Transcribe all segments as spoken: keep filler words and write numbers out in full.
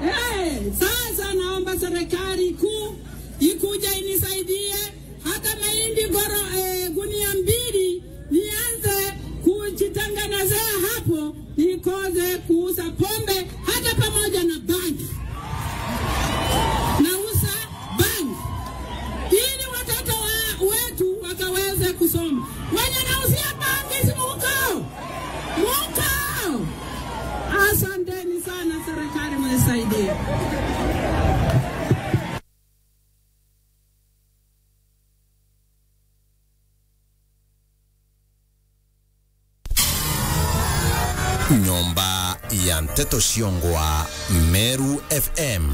Eh, sasa naomba serikali kuu ikuje inisaidie hata mahindi goro-, eh, gunia mbili, nianze kujitengenezea hapo, nikose kuuza pombe hata pamoja na bangi. Nauza bangi ili watoto wa-, wetu wakaweze kusoma. Wenye nauzia bangi, si muko? Muko? Asanteni sana, serikali mnisaidie. Nyomba ya nteto ciongwa, Meru F M.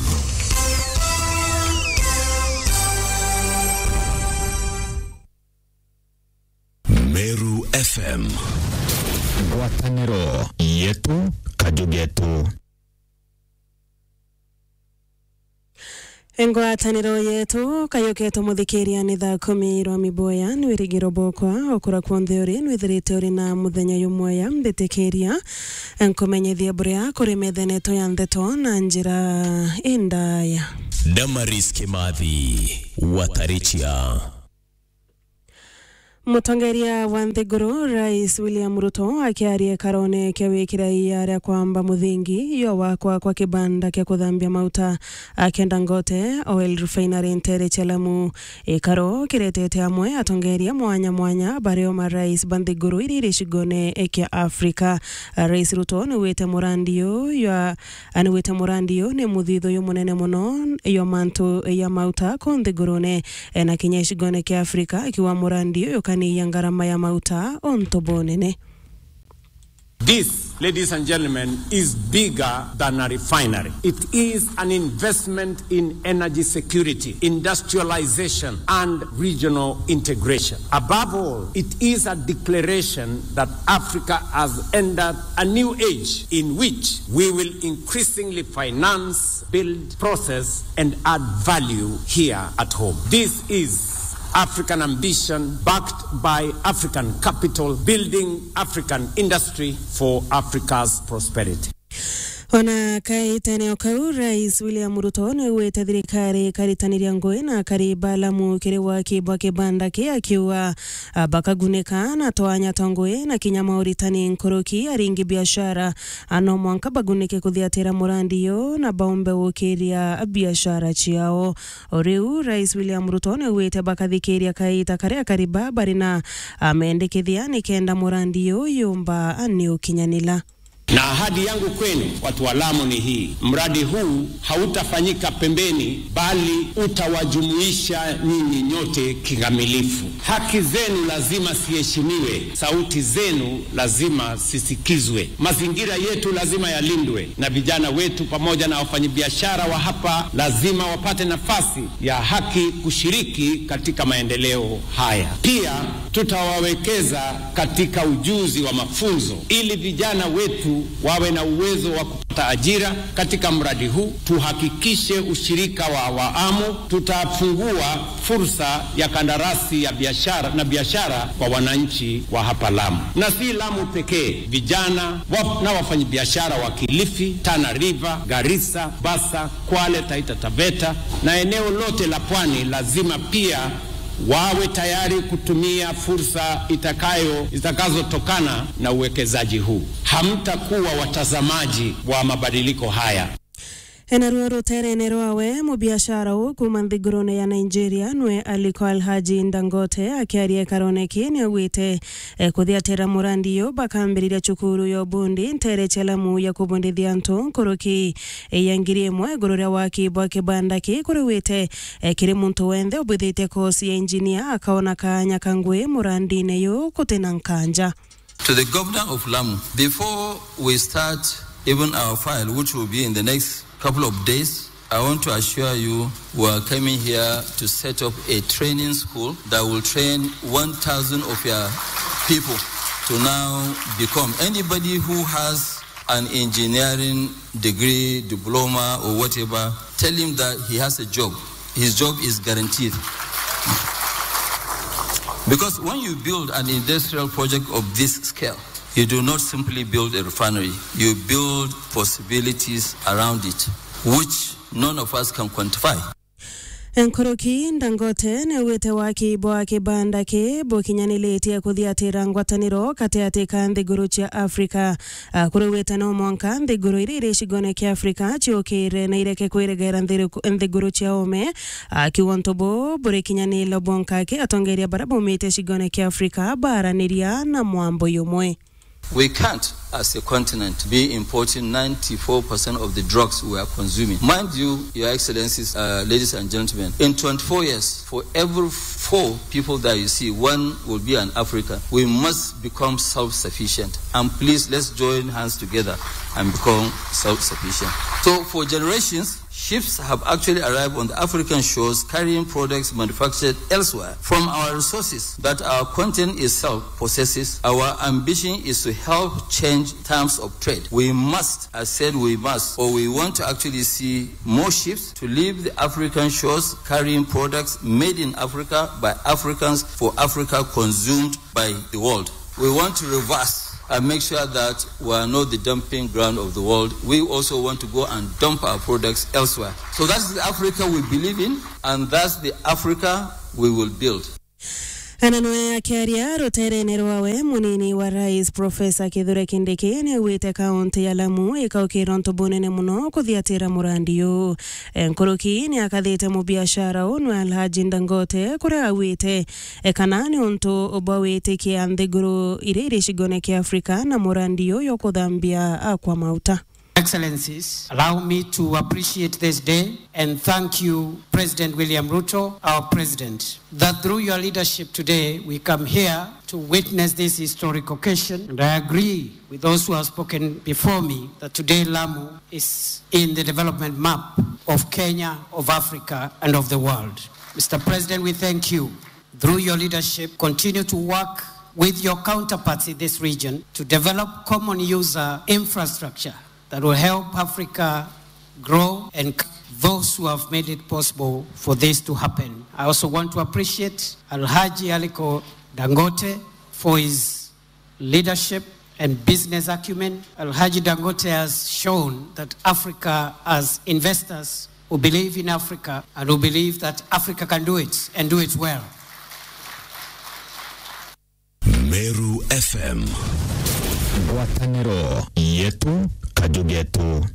Meru F M. Ngwataniro yetu, kaju getu. Ngwataniro yetu, kaju getu muthikiria, ni thaa kumi rwa miboya, ni wirigiro bwakwa, okura kwonthe uri, nwithirite uri na muthenya jumwega, mbitikiria nkumenyithie buria kuri metha yetu ya nteto na njira indaya. Damaris Kimathi, Watarichia. Mutongeria wa nthiguru, Rais William Ruto, akiaria ikarone kia wikira ia ria kwamba muthingi yo wakwa kwa kibanda kia kuthambia mauta akienda ngote Oil Refinery ntere cia Lamu. Ikaro kiretete amwe atongeria mwanya mwanya bario marais ba nthiguru iri iri cigone kia Afrika. Rais Ruto niwite murandi uyu ya Anigwite murandi uyu ni muthithu jumunene mono jwa mantu ja mauta ku nthigurune, e, na kinya gicigone kia Afrika, akiuga murandi uyu ukaniia ngarama ya mauta untu bunene. This, ladies and gentlemen, is bigger than a refinery. It is an investment in energy security, industrialization, and regional integration. Above all, it is a declaration that Africa has entered a new age in which we will increasingly finance, build, process, and add value here at home. This is African ambition backed by African capital, building African industry for Africa's prosperity. Ona kaitene o kau, Rais William Ruto niaugite thirikari ikaritaniria ngugi na akari ba Lamu kiri waki bwa kibanda ki, akiuga, a, bakagunika na twanya twa ngugi na kinya mauritani nkuruki. Aringi biashara, a, no mwanka bagunike kuthiatira murandi uyu na baumbe gukiria biashara ciao. O riu, Rais William Ruto niaugite bakathikiria kaita karia akari ba bari na, a, mendekithia nikenda murandi uyu yumba, a, ni ukinyanila. Na ahadi yangu kwenu, watu wa Lamu, ni hii. Mradi huu hautafanyika pembeni, bali utawajumuisha nyinyi nyote kikamilifu. Haki zenu lazima ziheshimiwe, sauti zenu lazima zisikizwe. Mazingira yetu lazima yalindwe, na vijana wetu pamoja na wafanyabiashara wa hapa lazima wapate nafasi ya haki kushiriki katika maendeleo haya. Pia tutawawekeza katika ujuzi wa mafunzo ili vijana wetu wawe na uwezo wa kupata ajira katika mradi huu. Tuhakikishe ushirika wa awamu, tutafungua fursa ya kandarasi ya biashara na biashara kwa wananchi wa hapa Lamu. Na si Lamu pekee, vijana wa, na wafanyabiashara wa Kilifi, Tana River, Garissa, Bassa, Kwale, Taita Taveta na eneo lote la pwani lazima pia wawe tayari kutumia fursa itakayo, zitakazotokana na uwekezaji huu. Hamtakuwa watazamaji wa mabadiliko haya. Enaruo ruterene rwawe, mubiashara uu kuuma nthigurune ya Nigeria nwe Aliko Alhaji Dangote akiaria ikarone ki niaugite, e, kuthiatira murandi uyu bakambiriria cukuru ya ubundi ntere cia Lamu ya kubundithia antu nkuruki ya ngiri imwe iguru ria waki bwa kibanda ki kuriwite, e, kiri muntu wenthe ubwithitie kosi ya engineer akaona kanya ka ngugi murandine uyu gutina nkanja. To the governor of Lamu, before we start even our file, which will be in the next couple of days, I want to assure you we are coming here to set up a training school that will train one thousand of your people to now become. Anybody who has an engineering degree, diploma, or whatever, tell him that he has a job. His job is guaranteed. Because when you build an industrial project of this scale, you do not simply build a refinery, you build possibilities around it. which none of us can quantify. Nkuruki Dangote niaugite waki bwa kibanda ki bukinyaniritie kuthiatira ngwataniro gatiati ka nthiguru cia Afrika. Akuraugite no mwanka nthiguru iria iri gicigone kia Afrika ciukire na ireke kwiregera nthiriku-, nthiguru cia ome. Akiuga untu buu burikinyanirwa bwanka aki atongeria baria baumite gicigone kia Afrika baraniria na mwambo yumwe. We can't, as a continent, be importing ninety-four percent of the drugs we are consuming. Mind you, Your Excellencies, uh, ladies and gentlemen, in twenty-four years, for every four people that you see, one will be an African. We must become self-sufficient. And please, let's join hands together and become self-sufficient. So, for generations, ships have actually arrived on the African shores carrying products manufactured elsewhere. From our resources that our continent itself possesses, our ambition is to help change terms of trade. We must, I said we must, or we want to actually see more ships to leave the African shores carrying products made in Africa by Africans for Africa, consumed by the world. We want to reverse and make sure that we are not the dumping ground of the world. We also want to go and dump our products elsewhere. So that's the Africa we believe in, and that's the Africa we will build. Ana nwe akiaria ruterene rwawe, munini wa rais Profesa Kithure Kindiki niaugite kaunti ya Lamu ikaukira untu bunene muno kuthiatira murandi uu. Nkuruki niakathite mubiashara uu nwe Alhaji Dangote, kuria augite e, kana ni untu bwa witikia nthiguru iria iri gicigone kia Afrika na murandi uyu kuthambia, a, kwa mauta. Excellencies, allow me to appreciate this day and thank you, President William Ruto, our President, that through your leadership today, we come here to witness this historic occasion. And I agree with those who have spoken before me that today Lamu is in the development map of Kenya, of Africa, and of the world. Mister President, we thank you. Through your leadership, continue to work with your counterparts in this region to develop common user infrastructure that will help Africa grow and those who have made it possible for this to happen. I also want to appreciate Alhaji Aliko Dangote for his leadership and business acumen. Alhaji Dangote has shown that Africa has investors who believe in Africa and who believe that Africa can do it and do it well. Meru F M. Ngwataniro yetu, kaju getu.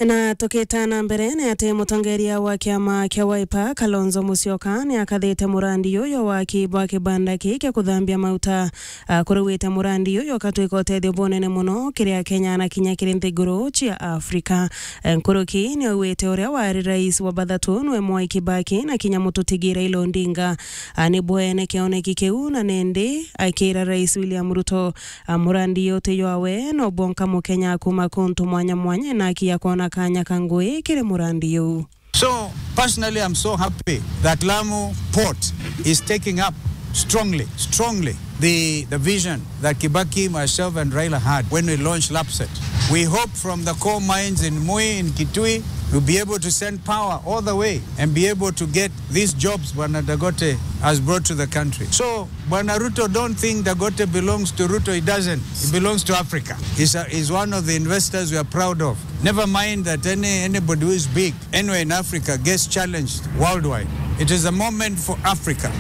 Na tukita na mbere, ni ati mutongeria wa kiama kia Wiper, Kalonzo Musyoka, ni akathite murandi uyu wa waki bwa kibanda ki kia kuthambia mauta. Akuruwite murandi uyu ukatwika utethio bunene muno kiri Akenya na kinya kiri nthiguru cia Afrika. Nkuruki ni augite uria wari rais wa bathatu nwe Mwai Kibaki na kinya mututi Raila Odinga, a, ni bwene kioneki kiu, na nindi akira Rais William Ruto, a, murandi uyu ti jwawe, no bwonka Mukenya kuma kuntu mwanya mwanya ena aki ya kwona kanya ka ngui kiri murandi uu. So, personally, I'm so happy that Lamu Port is taking up strongly, strongly the, the vision that Kibaki, myself, and Raila had when we launched LAPSSET. We hope from the coal mines in Mui, in Kitui, we'll be able to send power all the way and be able to get these jobs Bwana Dangote has brought to the country. So, Bwana Ruto, don't think Dangote belongs to Ruto. He doesn't. He belongs to Africa. He's, a, he's one of the investors we are proud of. Never mind that any, anybody who is big anywhere in Africa gets challenged worldwide. It is a moment for Africa.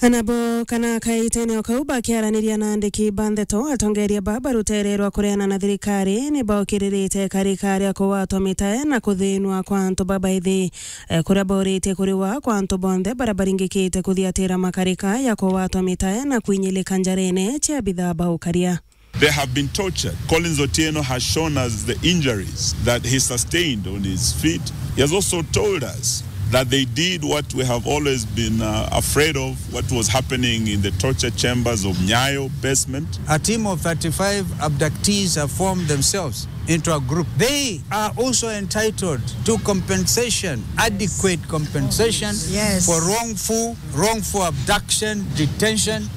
Anabo kana kaitene o kau bakiaraniria na andiki ba ndeto, atongeria ba barutererwa kureana na thirikari ni baokiririte karika ria kugwatwa mitae na kuthinwa kwa antu babaithi. E, kuria bauritie kuriwa kwa antu bonthe baria baringikite kuthiatira makarika ya kugwatwa mitae na kwinyilika njarene cia bithaa ba ukaria. They have been tortured. Collins Otieno has shown us the injuries that he sustained on his feet. He has also told us that they did what we have always been, uh, afraid of, what was happening in the torture chambers of Nyayo basement. A team of thirty-five abductees have formed themselves into a group. They are also entitled to compensation, adequate compensation, yes, for wrongful, wrongful abduction, detention.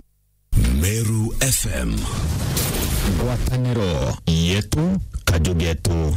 Meru F M. Ngwataniro yetu, kaju getu.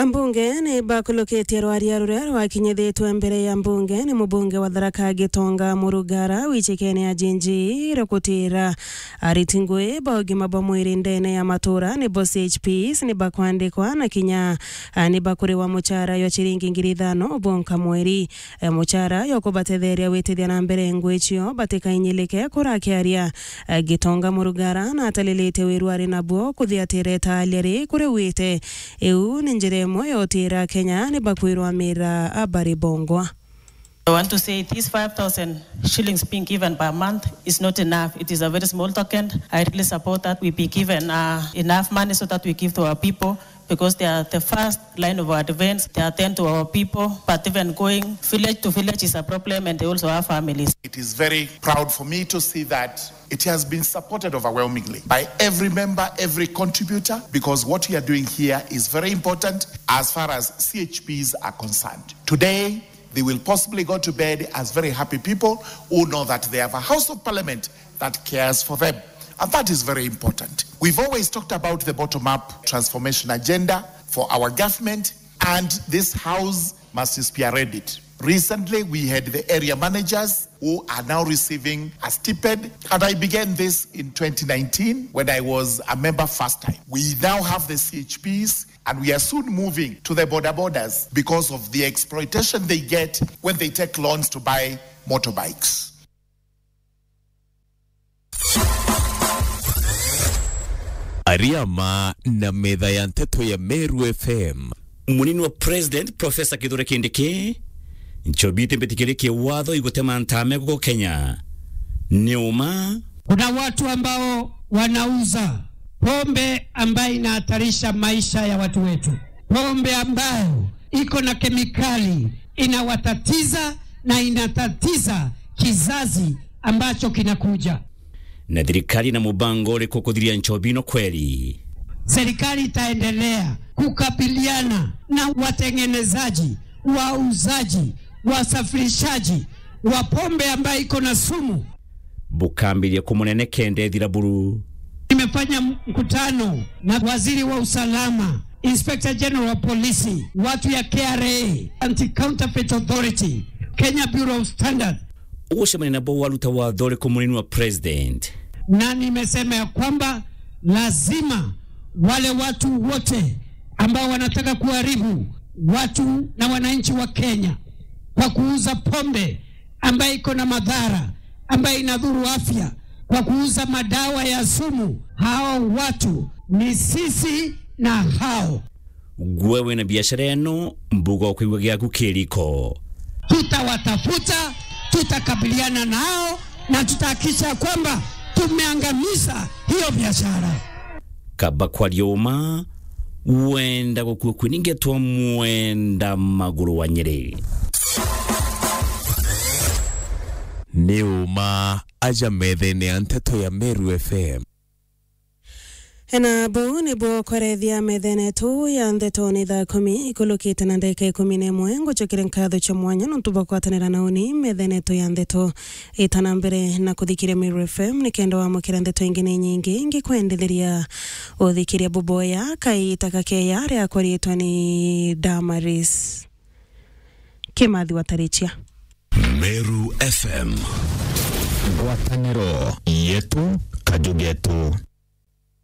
Ambunge ni bakulukitie rwaria ruria rwakinyithitwe mbere ya mbunge ni mubunge wa Tharaka Gitonga Murugara wichikene ya Jinji rukutira ariti ngui ba ugima bwa mwiri ndene ya matura nibo C H Ps ni bakwandikwa na kinya, ah, ni bakuriwa muchara jwa chiringi ngiri ithano bonka mweri. Eh, muchara jwa kubatetheria gwitithia na mbere ngui cio batikainyilike kurakiaria. Eh, Gitonga Murugara natalilite wiru ari nabuo kuthiatira itaalia ri kuriwite. Iu ni njira imwe ya utira Kenya ni bakwirwa mira abari bongwa. I want to say these five thousand shillings being given per month is not enough. It is a very small token. I really support that we be given, uh, enough money so that we give to our people, because they are the first line of our defense. They attend to our people, but even going village to village is a problem, and they also have families. It is very proud for me to see that it has been supported overwhelmingly by every member, every contributor, because what we are doing here is very important as far as C H Ps are concerned. Today, they will possibly go to bed as very happy people who know that they have a House of Parliament that cares for them. And that is very important. We've always talked about the bottom-up transformation agenda for our government, and this House must spearhead it. Recently, we had the area managers who are now receiving a stipend. And I began this in twenty nineteen when I was a member first time. We now have the C H Ps, and we are soon moving to the boda bodas because of the exploitation they get when they take loans to buy motorbikes. Ariama na metha ya nteto ya Meru F M. Munini wa President, Professor Kithure Kindiki: Nchobi itimbitikirie kiwatho igutema ntame guku Kenya. Ni uma. Kuna watu ambao wanauza pombe ambayo inahatarisha maisha ya watu wetu, pombe ambayo iko na kemikali inawatatiza na inatatiza kizazi ambacho kinakuja. Na thirikari na mubango uriku kuthiria nchobi ino kweri? Serikali itaendelea kukabiliana na watengenezaji, wauzaji, wasafirishaji wa pombe ambayo iko na sumu. Bukambiria kumunene kenda ethira buru. Nimefanya mkutano na waziri wa usalama, Inspector General wa polisi, watu ya K R A, Anti-Counterfeit Authority, Kenya Bureau of Standards. Ugucemania nabo waruta watho uriku munini wa President? Na nimesema ya kwamba lazima wale watu wote ambao wanataka kuharibu watu na wananchi wa Kenya kwa kuuza pombe ambayo iko na madhara, ambayo inadhuru afya, kwa kuuza madawa ya sumu, hao watu ni sisi na hao. Gwe wina biashara ino, mbuga ukwigua giaku kiriko. Tutawatafuta, tutakabiliana nao, na tutahakikisha kwamba tumeangamiza hiyo biashara. Kaba kwaria uma, wenda gukua kwiningetwa mwenda maguru wa Nyeri. Ni uma aja methene ya nteto ya Meru F M. Na buu nibuo kwerethia methene yetu ya nteto ni thaa kumi ikulukite na ndagika ikumi na imwe. Ngucokere nkatho cia mwanya nontu bwa kwatanira na uni methene yetu ya nteto. Ita na mbere na kuthikiria Meru F M nikenda wamukira nteto ingi ni nyingi ingikwendetheria uthikiria buboya kaita kakeya riakwa riitwa ni Damaris Kimathi wa Tarichia. Meru F M. Ngwataniro yetu, kaju getu.